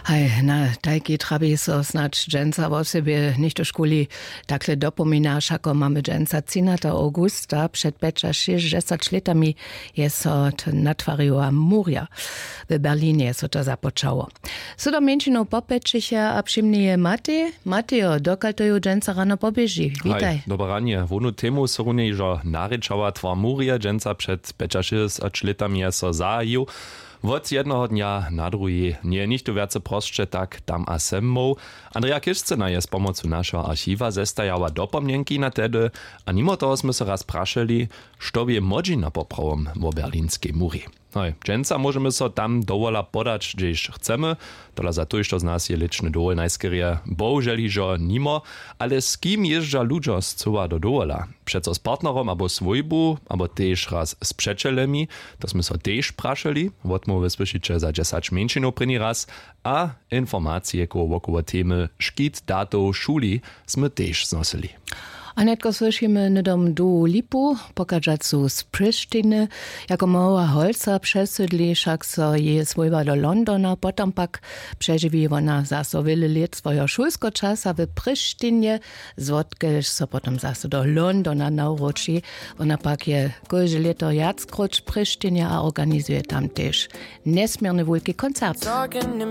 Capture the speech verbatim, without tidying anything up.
Haj, na tajki trabi so snadź dźensa wosebje něchtožkuli. Takle dopomina, wšako mamy dźensa třinata augusta. Před pjećašěsćdźesać lětami je so to natwariła murja. W berlinje je so to započało. Sydom mjeńšinow popjećiche a přimnije matej matejo, dokal to ju dźensa rano poběži. Witaj. Dobre ranje. Wonu temu so runje hižo narěčała. Twar murje dźensa před pjećašěsćdźesać lětami je so zahajił. Wot jednoho dnja na druhi njeje nichtó wjace prosće tak tam a sem móhł. Andrea kišcena je z pomocu našeho archiwa zestajała dopomnjenki na tehdy. A nimo toho smy so raz prašeli, što bě młodźina poprawom wo berlinskej murji. Hoj, dźensa móžemy so tam dowola podać hdźež chcemy. Tola za tójšto z nas je lěčny dowol najskerje bohužel hižo nimo. Ale z kim jězdźa ludźo scyła do dowola? Přeco z partnerom abo swójbu abo tež raz z přećelemi? To smy so tež prašeli. Wotmołwy słyšiće za dźesać mjeńšinow prěni raz. A informacije koło wokoło temy škit datow w šuli smy tež znosyli. A nětko słyšimy hnydom dołu lipu, pochadźacu z přěšćiny. Jako mała holca přesydli wšak so jeje swójba do londona, potom pak přežiwi wona zaso wjele lět swojeho šulskeho časa w přěšćinje, zwotkelž so potom zaso do londona nawróći. Wona pak je kóžde lěto wjackróć w přěšćinje a organizuje tam tež njesměrny wulki koncert.